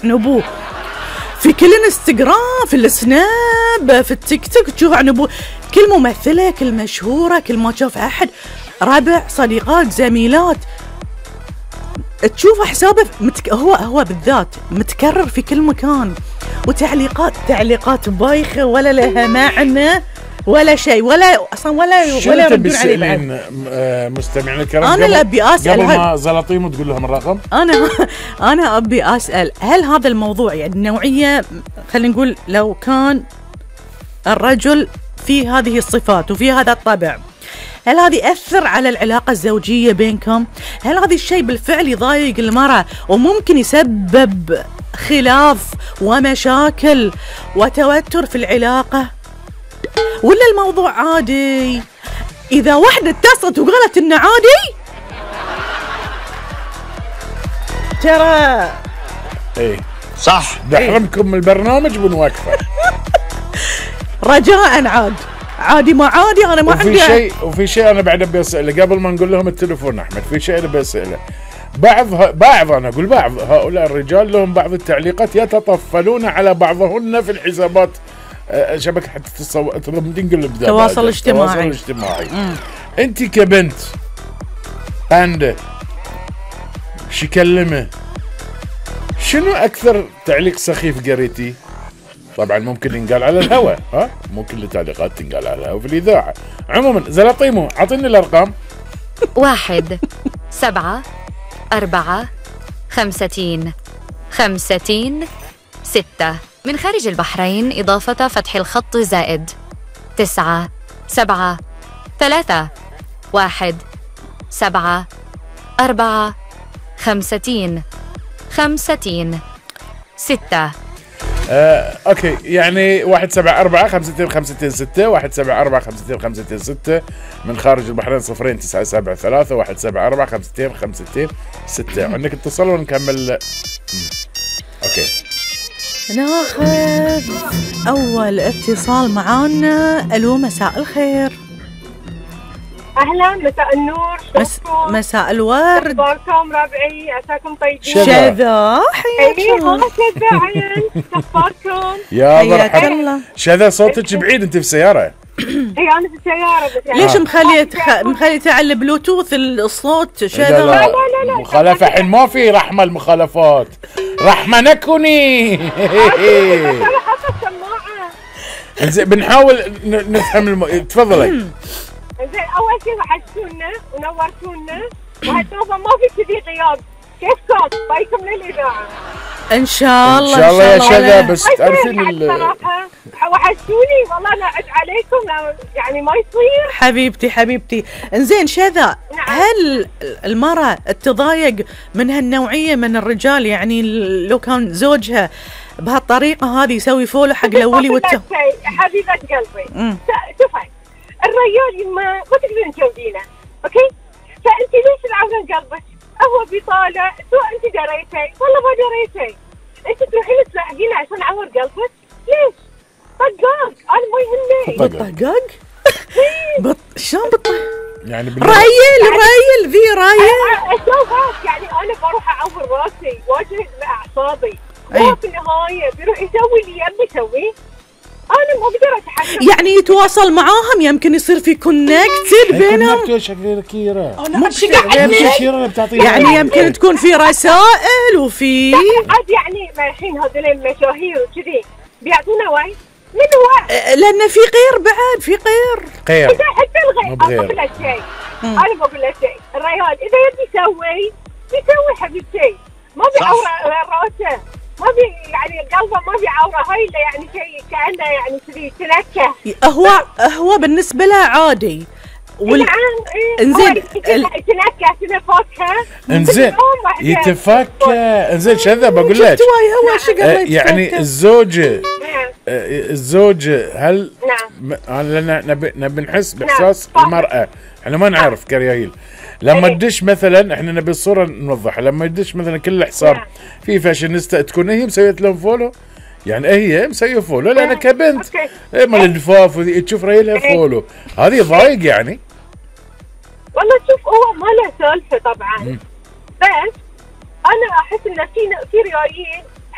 عن ابوه في كل انستغرام، في السناب، في التيك توك تشوف عن ابوه. كل ممثلة، كل مشهورة، كل ما تشوف احد ربع صديقات زميلات تشوف حسابه هو بالذات متكرر في كل مكان، تعليقات بايخة ولا لها معنى ولا شيء، ولا اصلا ولا يردون عليه بعد. مستمعينا الكرام، انا اللي ابي اسال قبل ما زلطيم تقول لهم الرقم، انا ابي اسال هل هذا الموضوع يعني النوعيه، خلينا نقول لو كان الرجل في هذه الصفات وفي هذا الطبع، هل هذا يأثر على العلاقة الزوجية بينكم؟ هل هذا الشيء بالفعل يضايق المرأة وممكن يسبب خلاف ومشاكل وتوتر في العلاقة؟ ولا الموضوع عادي؟ إذا واحدة اتصلت وقالت إنه عادي ترى إيه صح، بحرمكم من البرنامج بنوقفه. رجاء عادي ما عادي، انا ما عندي وفي شيء انا بعد ابي اساله قبل ما نقول لهم التليفون. احمد في شيء ابي اساله، بعض انا اقول بعض هؤلاء الرجال لهم بعض التعليقات يتطفلون على بعضهن في الحسابات شبكه التواصل الاجتماعي. انت كبنت عنده شي كلمه، شنو اكثر تعليق سخيف قريتي؟ طبعا ممكن ينقال على الهواء، ممكن التعليقات تنقال على الهواء في الإذاعة. عموما زلطيمو أعطيني الأرقام. 1 7 4 5 5 6 من خارج البحرين، إضافة فتح الخط زائد 9 7 3 1 7 4 5 5 6. اوكي، يعني 174-52-526 174-52-526 من خارج البحرين 0973 174-52-526. عندك اتصال ونكمل. اوكي، ناخذ اول اتصال معانا. الو، مساء الخير. اهلا، مساء النور، مساء الورد، اخباركم ربعي؟ عساكم طيبين. شذا حياك الله. شذا عين، اخباركم؟ يا مرحبا. شذا صوتك بعيد، انت في سياره؟ اي انا في السياره بس يعني. ليش مخليته على البلوتوث الصوت شذا؟ لا مخالفه، الحين ما في رحمه، المخالفات رحمه نكوني. زين بنحاول نفهم تفضلي. زين، اول شيء وحشتونا ونورتونا، وهالدوبه ما في كذي غياب. كيفكم؟ بايكم للاذاعه ان شاء الله. ان شاء الله يا شذا، بس تعرفين صراحه وحشتوني والله، انا اعد عليكم يعني ما يصير. حبيبتي. انزين شذا، هل المرأة تضايق من هالنوعية من الرجال؟ يعني لو كان زوجها بهالطريقة هذه يسوي فولو حق الاولي حبيبة قلبي، شوفي الرجال ما تقدرين تجاوبينه، اوكي؟ فانت ليش العون قلبك؟ هو بيطالع، سواء انت دريتي والله ما دريتي، انت تروحين تلاحقينه عشان عور قلبك؟ ليش؟ طقاق، انا ما يهمني. طقاق؟ شلون يعني رايل ذي رايل. اشوفك يعني انا بروح اعور راسي واجهد باعصابي، هو في النهايه بيروح يسوي اللي يبي يسويه. انا ما اقدر اتحكم، يعني يتواصل معاهم، يمكن يصير في كونكتد بينهم. شكلي كيرة يعني يمكن تكون في رسائل وفي عاد يعني الحين هذول المشاهير وكذي بيعطونا وعي من وعي، لان في غير بعد، في غير اذا حتى الغير اقول لك شيء، انا بقول لك شيء، الرجال اذا يبي يسوي حبيبتي، ما بيعور راسه، ما بي يعني قلبه ما بيعوره، هاي اللي يعني شيء كأنه يعني كذي تنكه. هو بالنسبة له عادي. نعم. انزين تنكه كذا فوقها. انزين يتفكى. انزين شذا بقول لك يعني الزوجة هل انا نبي نحس باحساس المرأة، احنا ما نعرف كريايل. لما تدش مثلا، احنا نبي الصوره نوضحها، لما تدش مثلا كل حساب في فاشينيستا تكون هي مسويت لهم فولو، يعني هي مسويه فولو لان كبنت مال الدفاف وذي تشوف ريلها فولو، هذه ضايق يعني. والله شوف، هو ما له سالفه طبعا، بس انا احس ان في ريايين